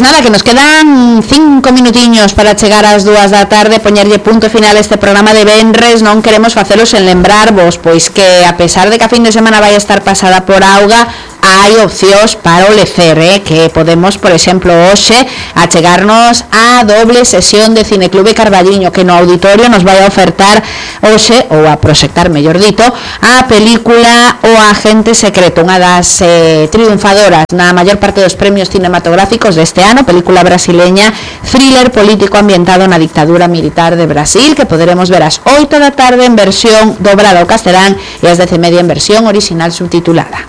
Pois nada, que nos quedan 5 minutiños para chegar ás 2 da tarde, poñerlle punto final a este programa de venres. Non queremos facelos en lembrarvos, pois que a pesar de que a fin de semana vai estar pasada por auga, hai opcións para o lecer, que podemos, por exemplo, hoxe achegarnos a doble sesión de Cineclube Carballiño, que no auditorio nos vai a ofertar hoxe, ou a proxectar, mellor dito, a película O Agente Secreto, unha das triunfadoras na maior parte dos premios cinematográficos deste ano, película brasileña, thriller político ambientado na dictadura militar de Brasil, que poderemos ver ás 8 da tarde en versión dobrada ao castelán e ás 10:30 en versión original subtitulada.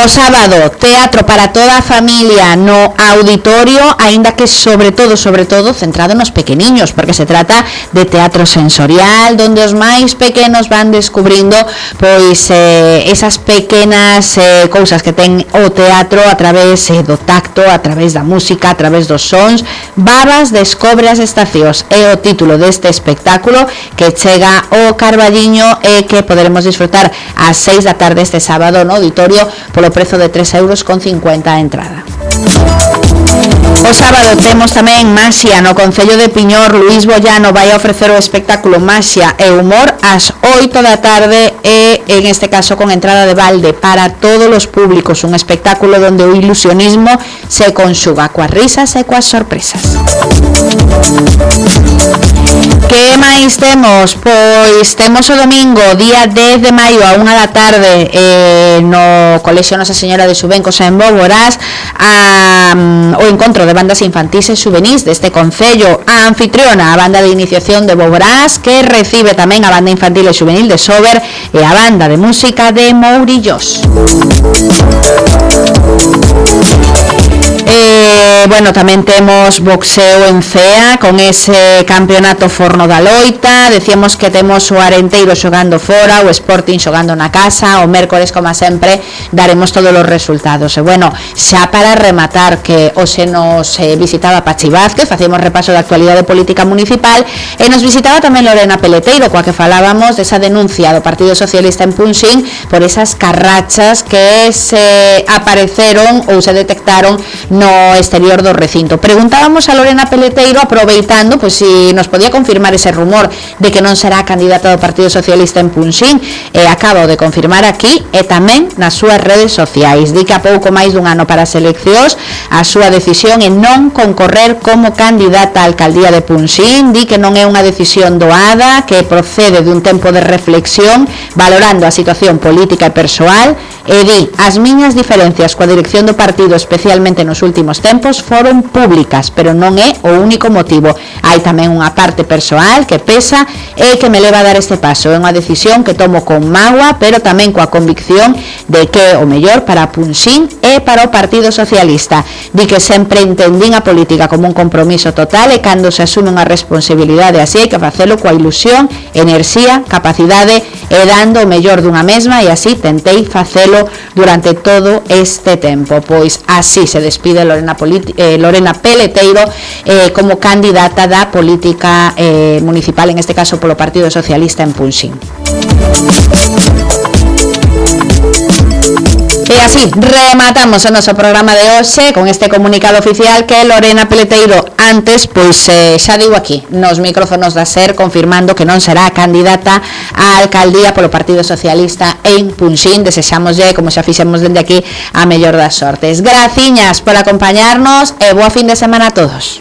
O sábado, teatro para toda a familia no auditorio, aínda que sobre todo centrado nos pequeniños, porque se trata de teatro sensorial, donde os máis pequenos van descubrindo pois esas pequenas cousas que ten o teatro a través do tacto, a través da música, a través dos sons. Babas descobre as estacións é o título deste espectáculo que chega ao Carballiño e que poderemos disfrutar ás 6 da tarde este sábado no auditorio polo prezo de 3,50 € a entrada. O sábado temos tamén Maxia no Concello de Piñor. Luís Bollano vai a ofrecer o espectáculo Maxia e Humor ás 8 da tarde e en este caso con entrada de balde para todos os públicos, un espectáculo onde o ilusionismo se conxuga coas risas e coas sorpresas. Que máis temos? Pois temos o domingo, día 10 de maio a 1 da tarde no Colexio Nosa Señora de Subencos en Boborás o encontro de bandas infantís e xuvenís deste concello. A anfitriona, a banda de iniciación de Boborás, que recibe tamén a banda infantil e xuvenil de Sober e a banda de música de Mourillos. Bueno, tamén temos boxeo en Cea con ese campeonato Forno da Loita. Decíamos que temos o Arenteiro xogando fora, o Sporting xogando na casa. O mércores, como sempre, daremos todos os resultados. E bueno, xa para rematar, que hoxe nos visitaba Pachi Vázquez, facemos repaso da actualidade política municipal, e nos visitaba tamén Lorena Peleteiro, coa que falábamos desa denuncia do Partido Socialista en Punxín por esas carrachas que se apareceron ou se detectaron no exterior do recinto. Preguntábamos a Lorena Peleteiro, aproveitando, pois si nos podía confirmar ese rumor de que non será candidata do Partido Socialista en Punxín, e acabo de confirmar aquí e tamén nas súas redes sociais. Di que a pouco máis dun ano para as eleccións, a súa decisión é non concorrer como candidata á alcaldía de Punxín. Di que non é unha decisión doada, que procede dun tempo de reflexión, valorando a situación política e persoal, e di: as miñas diferencias coa dirección do partido, especialmente nos últimos tempos, foron públicas, pero non é o único motivo. Hai tamén unha parte persoal que pesa e que me leva a dar este paso. É unha decisión que tomo con mágoa, pero tamén coa convicción de que o mellor para Punxín e para o Partido Socialista. Di que sempre entendín a política como un compromiso total, e cando se asume unha responsabilidade así hai que facelo coa ilusión, enerxía, capacidade e dando o mellor dunha mesma, e así tentei facelo durante todo este tempo. Pois así se despide Lorena Peleteiro como candidata da política municipal, en este caso polo Partido Socialista en Punxín. E así rematamos o noso programa de hoxe con este comunicado oficial que Lorena Peleteiro antes, pois xa digo aquí nos micrófonos da SER, confirmando que non será candidata á alcaldía polo Partido Socialista en Punxín. Desexámoslle, como xa fixemos dende aquí, a mellor das sortes. Graciñas por acompañarnos e boa fin de semana a todos.